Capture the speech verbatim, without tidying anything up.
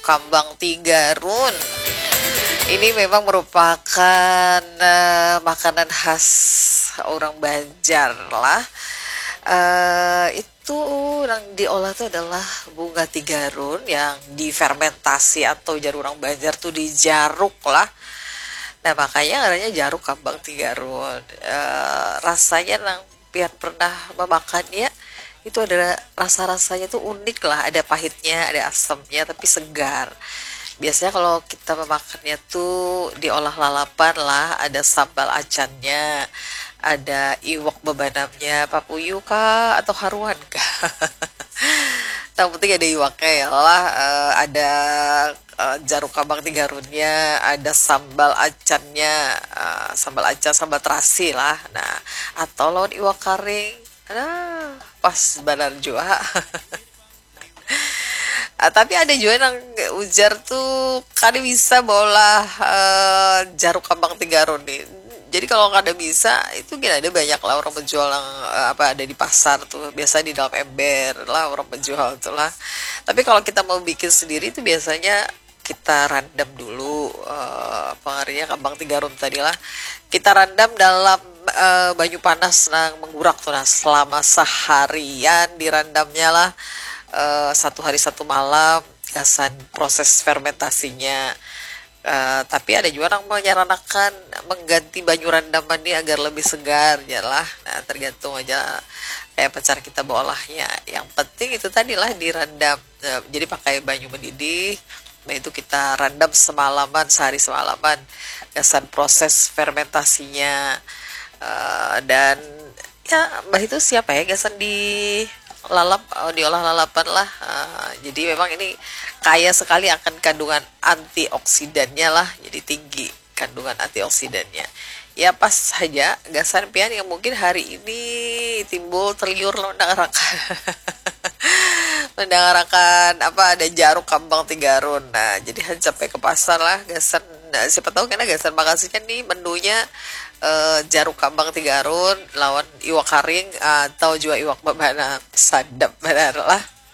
kambang tigarun. Ini memang merupakan uh, makanan khas orang Banjar lah. Uh, itu yang diolah itu adalah bunga tigarun yang difermentasi atau jar orang Banjar tuh dijaruk lah. Nah, makanya namanya jaruk kambang tigarun. Uh, rasanya nang pian pernah memakannya, itu ada rasa-rasanya tuh unik lah, ada pahitnya, ada asamnya, tapi segar. Biasanya kalau kita memakannya tuh diolah lalapan lah, ada sambal acannya, ada iwak bebanamnya, papuyu kah atau haruan kah. Yang penting ada iwaknya ya lah, eh, ada eh, jaruk kambang tigarunnya, ada sambal acannya, eh, sambal acan, sambal terasi lah. Nah, atau lawan iwak karing. Nah, pas banar jua. Ah, tapi ada jua nang ujar tuh kada bisa baulah eh, jaruk kambang tigarun nih. Jadi kalau kada bisa itu gini ada banyak lah orang menjual yang eh, apa ada di pasar tuh biasa di dalam ember lah orang menjual tuh lah. Tapi kalau kita mau bikin sendiri itu biasanya kita rendam dulu eh, apa ngarannya kambang tigarun tadi lah. Kita rendam dalam eh, banyu panas nang menggurak tuh nah selama seharian direndamnya lah eh, satu hari satu malam gasan proses fermentasinya. Eh, tapi ada juga yang menyaranakan mengganti banyu rendaman ini agar lebih segar ya lah. Nah, tergantung aja kayak apa cara kita beolahnya. Yang penting itu tadilah direndam. Eh, jadi pakai banyu mendidih, nah itu kita rendam semalaman, sehari semalaman. Gasan proses fermentasinya. Eh, dan ya, mbah itu siapa ya gasan di lalap, eh, diolah lalapan lah. Eh, jadi memang ini kaya sekali akan kandungan antioksidannya lah, jadi tinggi kandungan antioksidannya. Ya pas saja gasan pian yang mungkin hari ini timbul terliur mendangarakan mendangarakan apa ada jaruk kambang tigarun. Nah, jadi han sampai ke pasar lah gasan nah, siapa tahu kena gasan makasihnya nih menunya eh, jaruk kambang tigarun lawan iwak karing atau juga iwak bebana sadap benar lah.